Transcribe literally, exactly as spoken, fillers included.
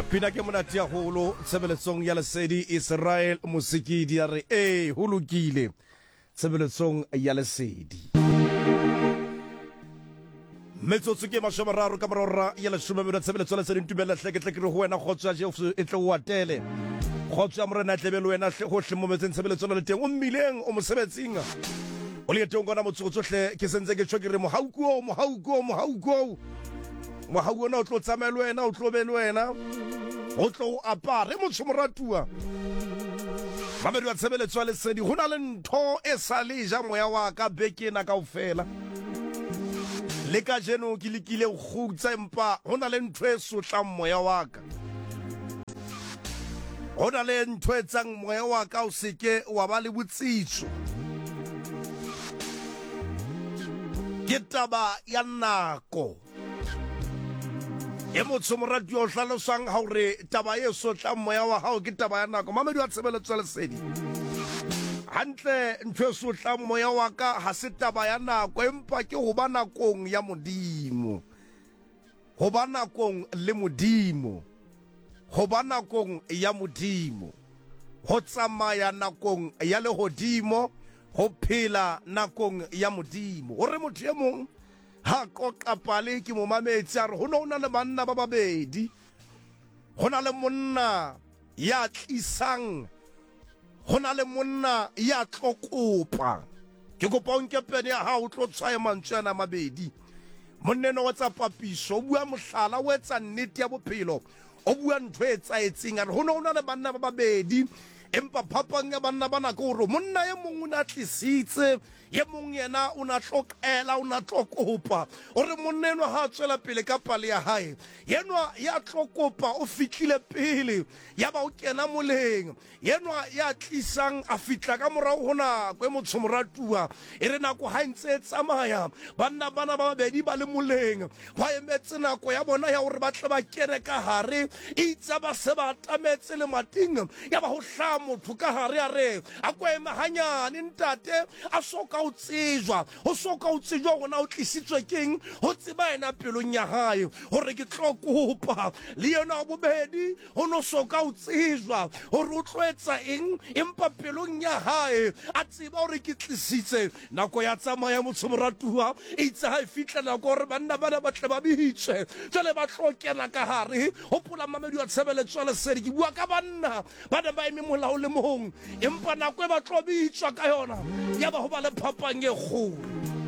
Pina ke monate haholo tshebeletsong ya Lesedi. Israel Mosikidi a re ee, ho lokile tshebeletsong ya Lesedi. Metsotso ke mashome mararo ka morora ya leshome meno tshebeletso ya Lesedi. Ntumella hle ke tle ke re ho wena kgotso ya Jesu e tle o atele, kgotso ya Morena e tlebe le wena hle hohle mo metseng tshebeletso le teng, o mmileng, o mosebetsing, o leetong kona motsotso hle. Ke sentse ke tjho ke re mohauku o mohauku o mohauku o mohau ona o tlo tsamaya le wena, o tlo be le wena, o tlo o apare motho moratuwa. Mamedi wa tshebeletso ya Lesedi, ho na le ntho e sa le ja moya wa ka beke ena kaofela le kajeno. Ke lekile ho kgutsa, empa ho na le ntho e sotlang moya wa ka, ho na le ntho e etsang moya wa ka o seke wa ba le botsitso. Ke taba ya nako e motho moratuwa o hlalosang ha hore taba e sotlang moya wa hao ke taba ya nako. Mamedi wa tshebeletso ya Lesedi, hantle ntho e sotlang moya wa ka ha se taba ya nako, empa ke ho ba nakong ya Modimo, ho ba nakong le Modimo, ho ba nakong ya Modimo, ho tsamaya nakong ya lehodimo, ho phela nakong ya Modimo. Hore motho e mong ha qoqa pale, ke mo mametse, a re ho no na le banna ba babedi, ho na le monna ya tlisang, ho na le monna ya tlo kopa. Ke kopa o nke pene ya hao, o tlo tshwaye mantswe ana mabedi. Monna enwa wa tsa papiso, o bua mohlala, o etsa nnete ya bophelo, o bua ntho e etsahetseng. A re ho ne ho na le banna ba babedi, empa phapang ya banna bana ke hore monna e mong o ne a tlisitse, ye mong yena o na tlo qela, o na tlo kopa. O re monna enwa ha a tswela pele ka pale ya hae, yenwa ya tlo kopa o fitlile pele, ya ba o kena moleng. Yenwa ya tlisang a fitla ka morao ho nako e motho moratuwa. E re nako ha e ntse e tsamaya, banna bana ba babedi ba le moleng, ba emetse nako ya bona ya hore ba tle ba kene ka hare. Itse ba se ba atametse lemating, ya ba ho hlaha motho ka hare, a re a ko eme hanyane ntate. A so ka o tsejwa, ho so ka o tsejwa hore na o tlisitswe keng, ho tseba yena pelong ya hae hore ke tlo kopa. Le yena wa bobedi ho no so ka o tsejwa hore o tlo etsa eng, empa pelong ya hae a tseba hore ke tlisitse. Nako ya tsamaya, motho moratuwa. Itse ha e fihla nako hore banna bana ba tle ba bitswe, jwale ba tlo kena ka hare. Hopola, mamedi wa tshebeletso ya Lesedi, ke bua ka banna ba ne ba eme molao le mong, empa nako e ba tlo bitswa ka yona, ya ba ho ba le phapang e kgolo.